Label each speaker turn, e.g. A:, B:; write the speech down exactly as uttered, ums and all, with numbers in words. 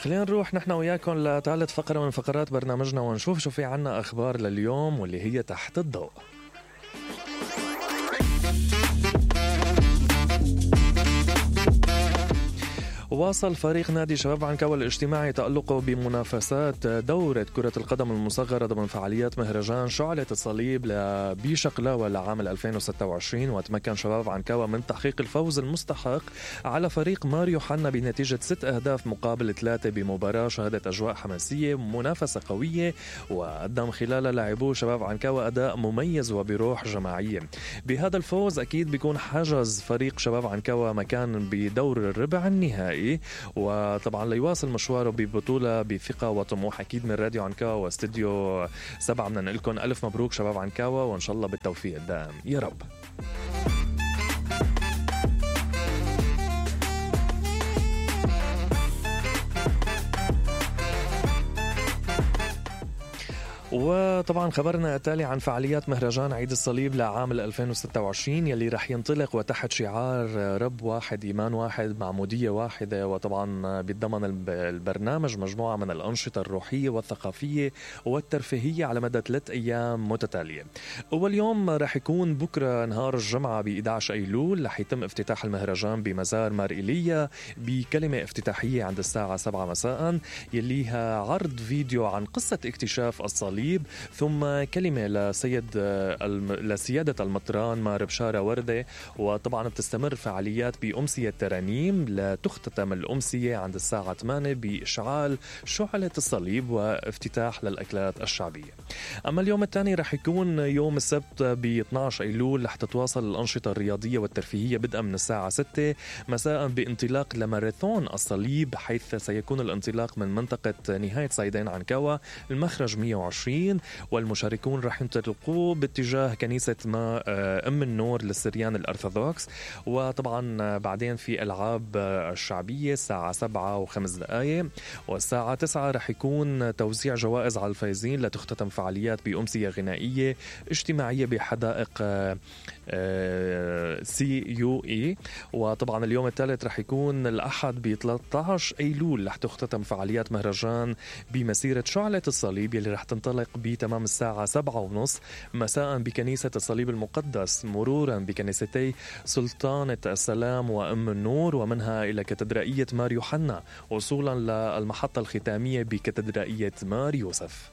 A: خلينا نروح نحن وياكم لثالث فقرة من فقرات برنامجنا ونشوف شو في عنا أخبار لليوم واللي هي تحت الضوء. واصل فريق نادي شباب عنكوة الاجتماعي تألقه بمنافسات دورة كرة القدم المصغرة ضمن فعاليات مهرجان شعلة الصليب بشقلاوة لعام ألفين وستة وعشرين، وتمكن شباب عنكوة من تحقيق الفوز المستحق على فريق ماريو حنا بنتيجة ست أهداف مقابل ثلاثة بمباراة شهدت أجواء حماسية ومنافسة قوية، وقدم خلال لاعبو شباب عنكوة أداء مميز وبروح جماعية. بهذا الفوز أكيد بيكون حجز فريق شباب عنكوة مكان بدور الربع النهائي، وطبعا ليواصل مشواره ببطولة بثقة وطموح. أكيد من راديو عنكاوة واستديو سبعة بدنا نقول لكم ألف مبروك شباب عنكاوة، وإن شاء الله بالتوفيق الدائم يا رب. وطبعا خبرنا التالي عن فعاليات مهرجان عيد الصليب لعام ألفين وستة وعشرين يلي رح ينطلق وتحت شعار رب واحد إيمان واحد معمودية واحدة، وطبعا بيتضمن البرنامج مجموعة من الأنشطة الروحية والثقافية والترفيهية على مدى ثلاث أيام متتالية. أول يوم رح يكون بكرة نهار الجمعة ب إحدى عشر أيلول، رح يتم افتتاح المهرجان بمزار مار إيليا بكلمة افتتاحية عند الساعة سبعة مساء يليها عرض فيديو عن قصة اكتشاف الصليب، ثم كلمة لسيد لسيادة المطران مار بشارة وردة. وطبعا بتستمر فعاليات بأمسية ترانيم لتختتم الأمسية عند الساعة ثمانية بإشعال شعلة الصليب وافتتاح للأكلات الشعبية. أما اليوم الثاني رح يكون يوم السبت ب اثني عشر أيلول، رح تتواصل الأنشطة الرياضية والترفيهية بدءا من الساعة ستة مساء بانطلاق لماراثون الصليب، حيث سيكون الانطلاق من منطقة نهاية صيدين عنكاوة المخرج مئة وعشرين، والمشاركون رح ينطلقوا باتجاه كنيسة ما أم النور للسريان الأرثوذكس. وطبعا بعدين في ألعاب الشعبية الساعة سبعة وخمس دقائق، والساعة تسعة رح يكون توزيع جوائز على الفائزين لتختتم فعاليات بأمسية غنائية اجتماعية بحدائق سي يو اي. وطبعا اليوم الثالث رح يكون الأحد ب ثلاثة عشر أيلول، رح تختتم فعاليات مهرجان بمسيرة شعلة الصليب يلي رح تنطلق بتمام الساعة سبعة ونص مساء بكنيسة الصليب المقدس، مرورا بكنيستي سلطانة السلام وأم النور، ومنها إلى كاتدرائية مار يوحنا، وصولا للمحطة الختامية بكاتدرائية مار يوسف.